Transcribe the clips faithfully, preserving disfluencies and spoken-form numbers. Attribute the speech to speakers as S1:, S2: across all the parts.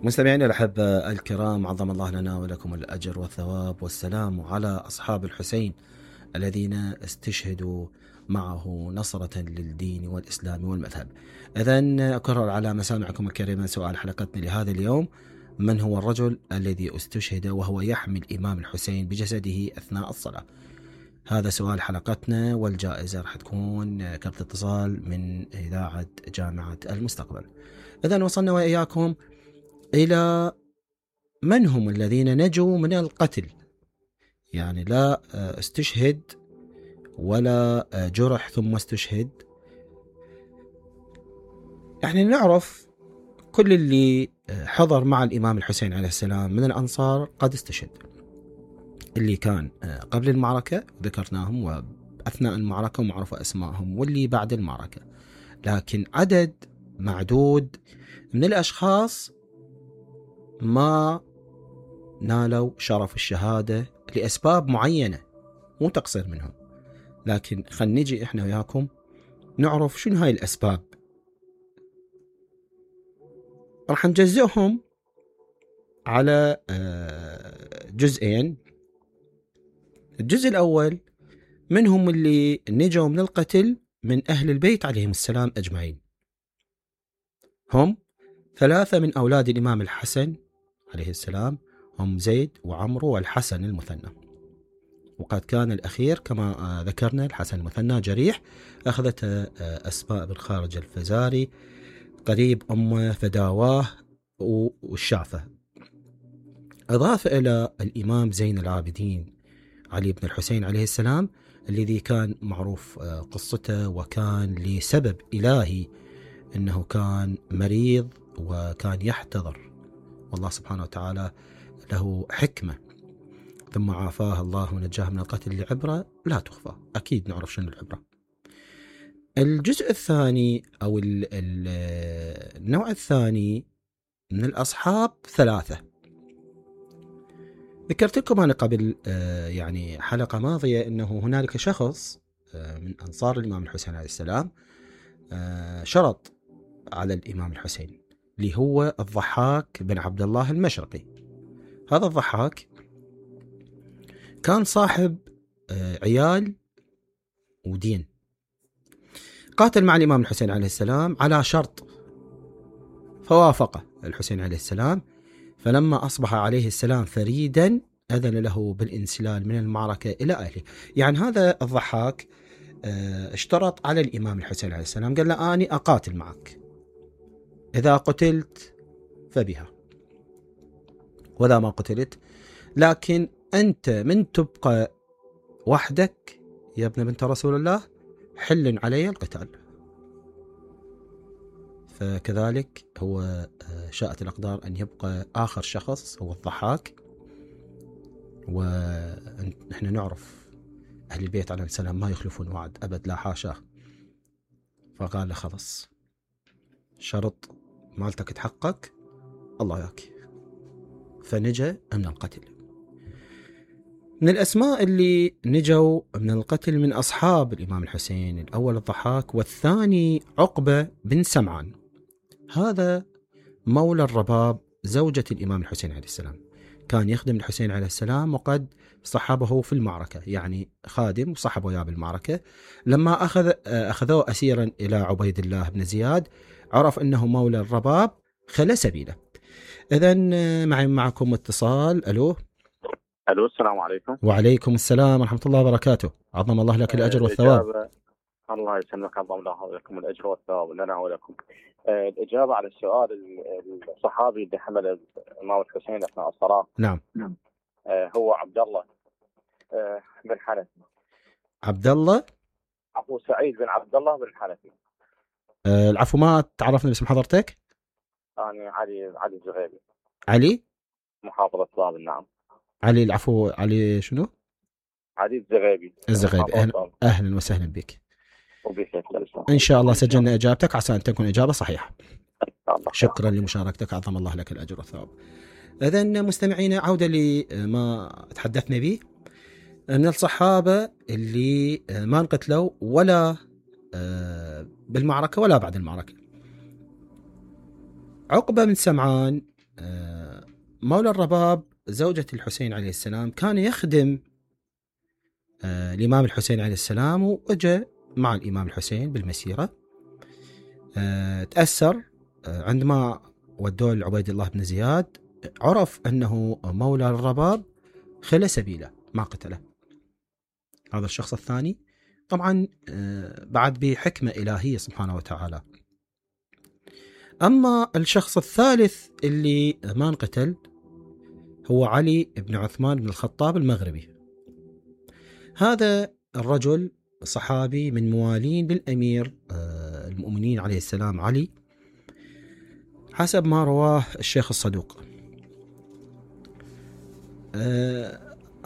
S1: مستمعينا الأحبة الكرام، عظم الله لنا ولكم الأجر والثواب، والسلام على أصحاب الحسين الذين استشهدوا معه نصرة للدين والإسلام والمذهب. إذن أكرر على مسامعكم الكريمة سؤال حلقتنا لهذا اليوم: من هو الرجل الذي استشهد وهو يحمي الإمام الحسين بجسده أثناء الصلاة؟ هذا سؤال حلقتنا، والجائزة راح تكون كرت اتصال من إذاعة جامعة المستقبل. إذن وصلنا وإياكم إلى من هم الذين نجوا من القتل، يعني لا استشهد ولا جرح ثم استشهد. يعني نعرف كل اللي حضر مع الإمام الحسين عليه السلام من الأنصار قد استشهد، اللي كان قبل المعركة ذكرناهم وأثناء المعركة ومعروفة أسمائهم، واللي بعد المعركة. لكن عدد معدود من الأشخاص ما نالوا شرف الشهادة لأسباب معينة، مو تقصير منهم، لكن خل نجي إحنا وياكم نعرف شنو هاي الأسباب. راح نجزئهم على جزئين. الجزء الأول منهم اللي نجوا من القتل من أهل البيت عليهم السلام أجمعين، هم ثلاثة من أولاد الإمام الحسن عليه السلام، هم زيد وعمرو والحسن المثنى. وقد كان الأخير كما ذكرنا الحسن المثنى جريح، أخذته أسماء بن خارج الفزاري قريب أمه فداواه والشافة. أضاف إلى الإمام زين العابدين علي بن الحسين عليه السلام، الذي كان معروف قصته وكان لسبب إلهي أنه كان مريض وكان يحتضر، والله سبحانه وتعالى له حكمة، ثم عافاه الله ونجاه من القتل لعبرة لا تخفى. أكيد نعرف شنو العبرة. الجزء الثاني أو النوع الثاني من الأصحاب ثلاثة. ذكرت لكم أنا قبل يعني حلقة ماضية أنه هنالك شخص من أنصار الإمام الحسين عليه السلام شرط على الإمام الحسين، اللي هو الضحاك بن عبد الله المشرقي. هذا الضحاك كان صاحب عيال ودين، قاتل مع الإمام الحسين عليه السلام على شرط، فوافقه الحسين عليه السلام. فلما أصبح عليه السلام فريدا أذن له بالانسلال من المعركة إلى أهله. يعني هذا الضحاك اشترط على الإمام الحسين عليه السلام، قال له أني أقاتل معك، إذا قتلت فبها ولا ما قتلت، لكن أنت من تبقى وحدك يا ابن بنت رسول الله حل علي القتال. فكذلك هو شاءت الأقدار أن يبقى آخر شخص هو الضحاك. ونحن نعرف أهل البيت عليه السلام ما يخلفون وعد أبد، لا حاشا. فقال له خلص، شرط مالتك تحقق، الله ياك. فنجا من القتل. من الأسماء اللي نجوا من القتل من أصحاب الإمام الحسين، الأول الضحاك، والثاني عقبة بن سمعان. هذا مولى الرباب زوجة الإمام الحسين عليه السلام، كان يخدم الحسين عليه السلام وقد صحبه في المعركة، يعني خادم وصحبه وياه بالمعركة. لما أخذ أخذوه أسيرا إلى عبيد الله بن زياد، عرف أنه مولى الرباب، خلى سبيله. إذن معي معكم اتصال. ألو
S2: ألو السلام عليكم.
S1: وعليكم السلام ورحمة الله وبركاته. عظم الله لك الأجر والثواب.
S2: الله يسلمك، عظم الله لكم الأجر والثواب لنا ولكم. الإجابة على السؤال، الصحابي اللي حمل الإمام الحسين أثناء الصلاة،
S1: نعم،
S2: هو عبد الله بن حنفي.
S1: عبد الله
S2: أبو سعيد بن عبد الله بن حنفي.
S1: أه العفو، ما تعرفنا باسم حضرتك؟
S2: أنا علي علي الزغيبي.
S1: علي
S2: محافظة بابل. نعم
S1: علي، العفو، علي شنو؟
S2: علي الزغيبي.
S1: الزغيبي. أهلا, أهلا وسهلا بك.
S2: وبك
S1: إن شاء الله سجلنا إجابتك عسى أن تكون إجابة صحيحة.
S2: الله.
S1: شكرا لمشاركتك، عظم الله لك الأجر والثواب. إذن مستمعينا، عودة لما تحدثنا به من الصحابة اللي ما انقتلوا ولا بالمعركة ولا بعد المعركة. عقبة بن سمعان مولى الرباب زوجة الحسين عليه السلام كان يخدم آه الإمام الحسين عليه السلام، وأجا مع الإمام الحسين بالمسيرة. آه تأثر آه عندما ودوه لعبيد الله بن زياد، عرف أنه مولى الرباب، خلى سبيله ما قتله. هذا الشخص الثاني طبعا آه بعد بحكمة إلهية سبحانه وتعالى. أما الشخص الثالث اللي ما انقتل هو علي بن عثمان بن الخطاب المغربي. هذا الرجل صحابي من موالين للأمير المؤمنين عليه السلام علي، حسب ما رواه الشيخ الصدوق.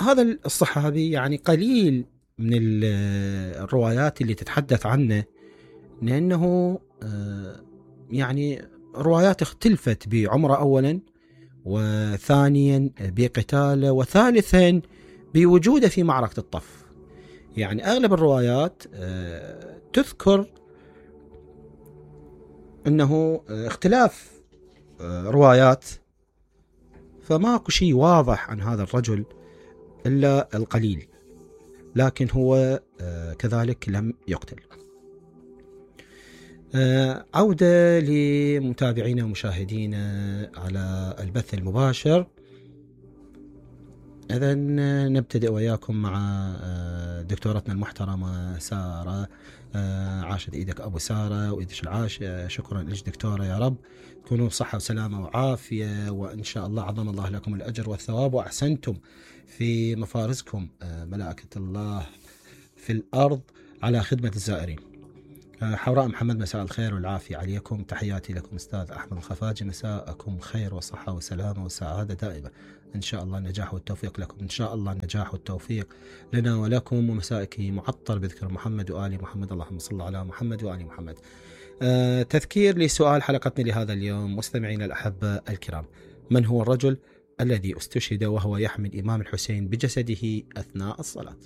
S1: هذا الصحابي يعني قليل من الروايات اللي تتحدث عنه، لأنه يعني روايات اختلفت بعمره أولا، وثانيا بقتاله، وثالثا بوجوده في معركة الطف. يعني أغلب الروايات تذكر أنه اختلاف روايات، فماكو شيء واضح عن هذا الرجل إلا القليل، لكن هو كذلك لم يقتل. عودة لمتابعينا ومشاهدينا على البث المباشر. إذن نبتدئ وياكم مع دكتورتنا المحترمة سارة. عاشت إيدك أبو سارة وإيدش العاش. شكرا لك دكتورة، يا رب تكونوا بصحة وسلامة وعافية، وإن شاء الله عظم الله لكم الأجر والثواب، وأحسنتم في مفارزكم ملائكة الله في الأرض على خدمة الزائرين. حوراء محمد، مساء الخير والعافية عليكم. تحياتي لكم أستاذ أحمد الخفاجي، مساءكم خير وصحة وسلامة وسعادة دائمة. إن شاء الله النجاح والتوفيق لكم، إن شاء الله النجاح والتوفيق لنا ولكم. ومسائك معطر بذكر محمد وآل محمد، اللهم صل على محمد وآل محمد. آه تذكير لسؤال حلقتنا لهذا اليوم. مستمعينا الأحبة الكرام، من هو الرجل الذي استشهد وهو يحمل الإمام الحسين بجسده أثناء الصلاة؟